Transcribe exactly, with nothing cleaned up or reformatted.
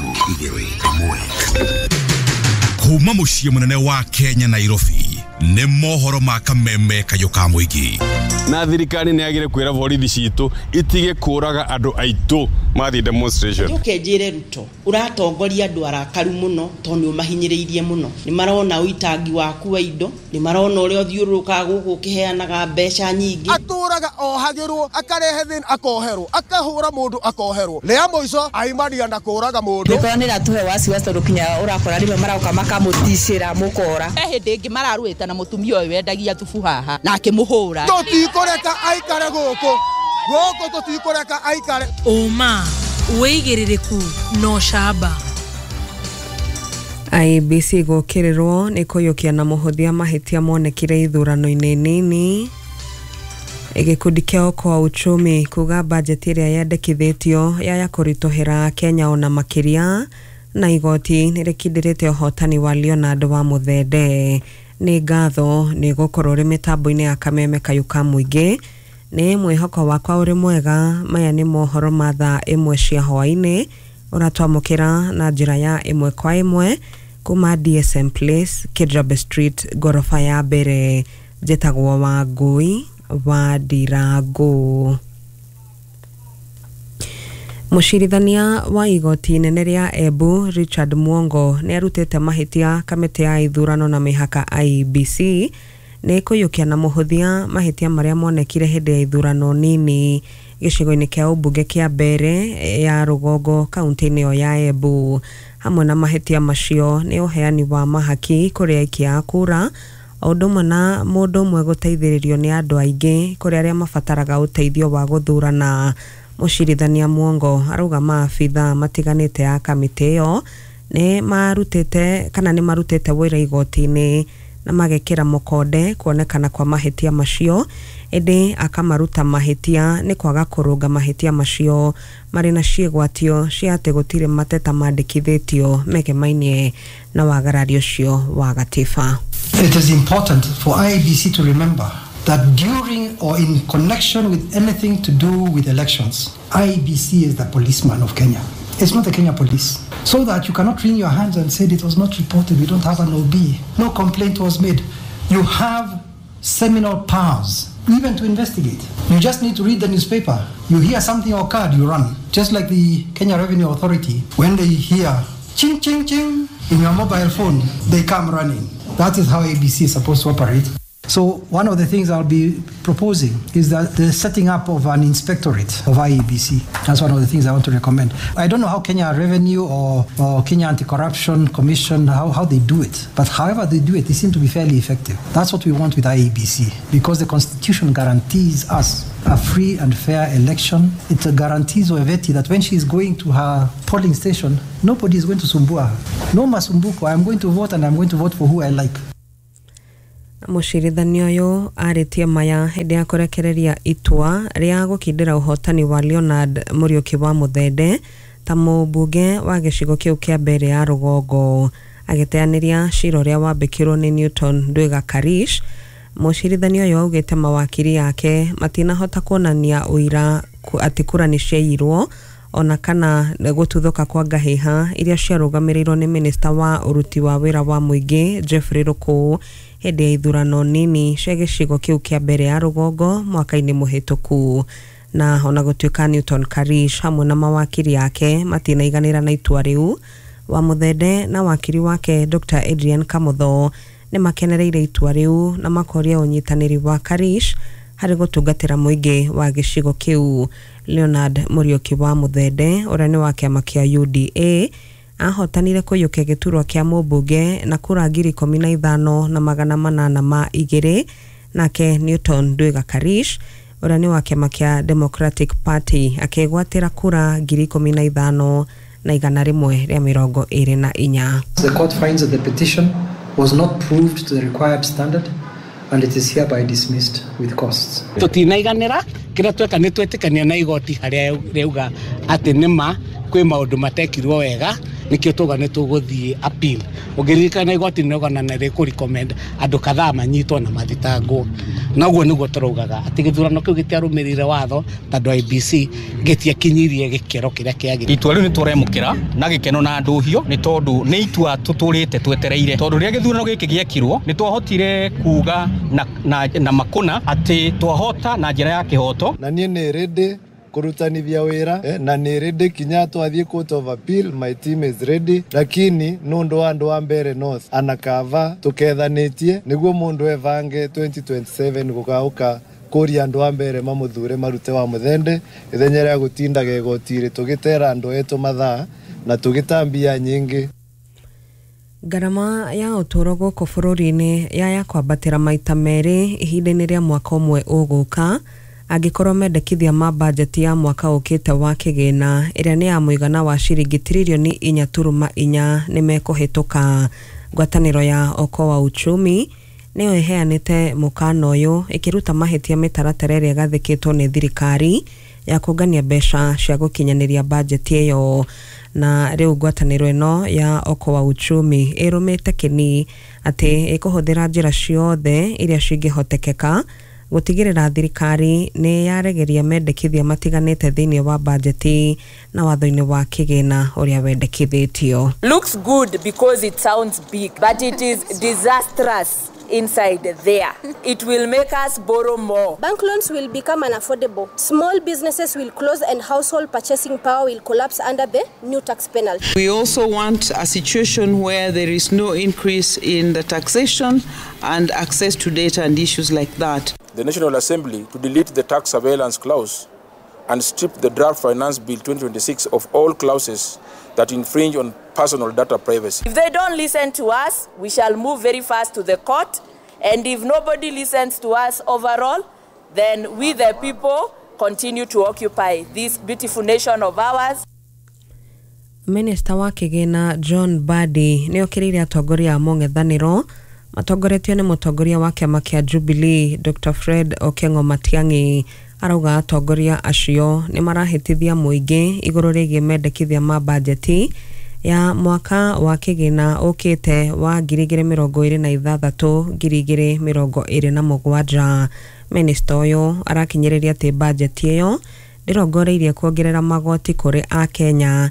Nuthu igĩrĩ ĩmwe. Kuma mũciĩ mũnene wa Kenya, Nairobi, nĩ mohoro ma kameme kayũ ka mũingĩ. Na thirikari nĩ yagire kwĩra borithi citũ itige kũraga andũ aitũ mathiĩ demonstration. Njoke njĩre Ruto, ũratongoria andũ arakaru mũno tondũ nĩ ũmahinyĩrĩirie mũno. Nĩ marona ũitangi waku wa indo, nĩ marona ũrĩa ũthiũrũrũkaga gũkũ ũkĩheanaga mbeca nyingĩ. Atũraga ohagĩrwo, akarehe thĩna akoherwo, akahũra mũndũ akoherwo, rĩa mũico aimania na kũraga mũndũ. Mĩkora nĩ ĩratũhe wasiwasi tondũ kinya ũrakora rĩmwe marauka makamũticĩra mũkora. He hĩndĩ ĩngĩ mararũĩte na mũtumia ũyũ wendagia thubu haha na akĩmũhũra. Tũtikũreka aikare gũkũ gũkũ, tũtikũreka aikare. Ũma, wĩigĩrĩrĩku na ũcamba. I E B C gũkĩrĩrwo nĩ kũiyũkia na mũhũthia mahĩtia monekire ithurano-inĩ nini. Gĩkundi kĩa Okoa Uchumi kuga bajeti ĩrĩa yendekithĩtio yaya kũritũhĩra Kenya ona makĩria, na igoti nĩ rĩkindĩrĩte ũhotani wa Leonard wa Mũthende. Nĩ ngatho nĩ gũkorwo ũrĩ mĩtambo-inĩ ya kameme kayũ ka mũingĩ. Nĩ mwĩhoko wakwa ũrĩ mwega. Maya nĩ mohoro ma thaa ĩmwe cia hwaĩ-inĩ, ũratwamũkĩra na njĩra ya ĩmwe kwa ĩmwe kuma D S M Place, Kijabe Street, ngoroba ya mbere. Njĩtagwo Wangũi wa Ndirangu. Mũcirithania wa igoti inene rĩa Embu Richard Mwongo nĩ arutĩte mahĩtia kamĩtĩ ya ithurano na mĩhaka I E B C nĩ kũiyũkia na mũhũthia mahĩtia marĩa monekire hĩndĩ ya ithurano nini gĩcigo-inĩ kĩa ũmbunge kĩa Mbere ya Rũgongo, kaunti-inĩ ĩyo ya Embu. Hamwe na mahĩtia macio nĩ ũheani wa mahaki kũrĩ aikia a kura, o ũndũ ũmwe na mũndũ ũmwe gũteithĩrĩrio nĩ andũ aingĩ kũrĩ arĩa mabataraga ũteithio wa gũthurana. Mũcirithania Mwongo arauga maabithaa matiganĩte a kamĩtĩ ĩyo nĩ marutĩte kana nĩ marutĩte wũira igoti-inĩ na magekĩra mũkonde kuonekana kwa mahĩtia macio, ĩndĩ akamaruta mahĩtia nĩ kwaga kũrũnga mahĩtia macio marĩ na ciĩgwatio cia atĩ gũtirĩ mateta mandĩkithĩtio megemainie na wagarari ũcio wa gatiba. It is important for I E B C to remember that during or in connection with anything to do with elections, I E B C is the policeman of Kenya. It's not the Kenya police. So that you cannot wring your hands and say it was not reported, we don't have an O B, no complaint was made. You have seminal powers, even to investigate. You just need to read the newspaper. You hear something occurred, you run. Just like the Kenya Revenue Authority, when they hear ching, ching, ching in your mobile phone, they come running. That is how I E B C is supposed to operate. So one of the things I'll be proposing is that the setting up of an inspectorate of I E B C. That's one of the things I want to recommend. I don't know how Kenya Revenue or, or Kenya Anti-Corruption Commission, how, how they do it. But however they do it, they seem to be fairly effective. That's what we want with I E B C, because the Constitution guarantees us a free and fair election. It guarantees Weveti that when she is going to her polling station, nobody is going to sumbua her. No masumbuko. I'm going to vote and I'm going to vote for who I like. Mũcirithania ũyũ arĩtie maya hĩndĩ ya kũrekereria itua rĩa gũkindĩra ũhotani wa Leonard Mũriũki wa Mũthende ta mũmbunge wa gĩcigo kĩu kĩa Mbere ya Rũgongo. Agĩteanĩria cira ũrĩa wambĩkirwo nĩ Newton Ndwiga Karish, mũcirithania ũyũ augĩte mawakiri ake matinahota kuonania ũira atĩ kura nĩ ciaiyirwo ona kana gũtuthũka kwa ngahĩha iria ciarũgamĩrĩirwo nĩ minista wa ũruti wa wĩra wa mũingĩ Jeffrey Rũkũ hĩndĩ ya ithurano nini cia gĩcigo kĩu kĩa Mbere ya Rũgongo mwaka-inĩ mũhĩtũku. Na ona gũtuĩka Newton Karish hamwe na mawakiri ake matinaiganĩra na itua rĩu, wa Mũthende na wakiri wake Doctor Adrian Kamotho nĩ makenereire itua rĩu na makoria ũnyitanĩri wa Karish harĩ gũtungatĩra mũingĩ wa gĩcigo kĩu. Leonard Mũriũki wa Mũthende, ũrĩa nĩ wa kĩama kĩa U D A, ahotanire kũiyũkia gĩturwa kĩa mũmbunge na kura ngiri ikũmi na ithano na magana manana ma igĩrĩ, nake Newton Ndwiga Karish, ũrĩa nĩ wa kĩama kĩa Democratic Party, akĩgwatĩra kura ngiri ikũmi na ithano na igana rĩmwe rĩa mĩrongo ĩrĩ na inya. The court finds that the petition was not proved to the required standard and it is hereby dismissed with costs. Tutinaiganĩra kĩrĩa tweka nĩ twetĩkania na igoti harĩa rĩauga atĩ nĩma kwĩ maũndũ matekirwo wega. Nikio tuga nĩ tũgũthiĩ appeal. Ũngĩririkana igoti nĩ rĩogana na rĩkũ recommend andũ kadhaa manyitwo na mathitangwo. Na ũguo nĩguo tũraugaga atĩ gĩthurano kĩu gĩtiarũmĩrĩire watho, tondũ I E B C gĩtiakinyirie gĩkĩro kĩrĩa kĩagĩrĩire. Itua rĩu nĩ tũremũkĩra na gĩkeno na ndũhio, nĩ tondũ nĩ itua tũtũrĩte twetereire, tondũ rĩrĩa gĩthurano gĩkĩ gĩekirwo nĩ twahotire kuga na, na, na makũna atĩ twahota na njĩra ya kĩhoto. Na niĩ nĩ ready kurutanithia wira, eh, na nĩ ready kinya twathiĩ court of appeal. My team is ready, lakini nundu wa andu wa Mbere North anakava tukethanitie niguo mundu evange twenty twenty-seven gukauka kuria andu a Mbere mamuthure marute wa muthende ithenya ria gutindaga igoti-ri tugitera andu etu mathaa na tugitambia nyingi. Ngarama ya ũtũũro gũkũ bũrũri-inĩ yaya kwambatĩra maita merĩ ihinda-inĩ rĩa mwaka ũmwe ũgũka, angĩkorwo mendekithia ma bajeti ya mwaka ũkĩte wa kĩgĩna, ĩrĩa nĩ ya mũigana wa ciringi tiririoni inya turuma inya, nĩ mekũhĩtũka. Ngwatanĩro ya Okoa Uchumi nĩyo ĩheanĩte mũkana ũyũ, ĩkĩruta mahĩtia mĩtaratara ĩrĩa ĩgathĩkĩtwo nĩ thirikari ya kũngania mbeca cia gũkinyanĩria bajeti ĩyo. Na rĩu ngwatanĩro ĩno ya Okoa Uchumi ĩrũmĩte kĩni atĩ ĩkũhũthĩra njĩra ciothe iria cingĩhotekeka gũtigĩrĩra thirikari nĩ yaregeria mendekithia matiganĩte thĩinĩ wa bajeti na watho-inĩ wa kĩgĩna ũrĩa wendekithĩtio. Looks good because it sounds big, but it is disastrous inside there. It will make us borrow more. Bank loans will become unaffordable. Small businesses will close and household purchasing power will collapse under the new tax penalty. We also want a situation where there is no increase in the taxation and access to data and issues like that. The National Assembly to delete the tax surveillance clause and strip the draft Finance Bill twenty twenty-six of all clauses that infringe on personal data privacy. If they don't listen to us, we shall move very fast to the court. And if nobody listens to us overall, then we the people continue to occupy this beautiful nation of ours. Minista wa kĩgĩna John Mbadi nĩ okĩrĩire atongoria a mũng'ethanĩro matongoretio nĩ mũtongoria wa kĩama kĩa Jubilee Doctor Fred Okengo Matiang'i. Arauga atongoria acio nĩ marahĩtithia mũingĩ igũrũ rĩgiĩ mendekithia ma bajeti ya mwaka wa kĩgĩna ũkĩte wa ngiri igĩrĩ mĩrongo ĩrĩ na ithathatũ ngiri igĩrĩ mĩrongo ĩrĩ na mũgwanja. Minista ũyũ arakinyĩrĩria atĩ bajeti ĩyo ndĩrongoreirie kuongerera magoti kũrĩ akenya.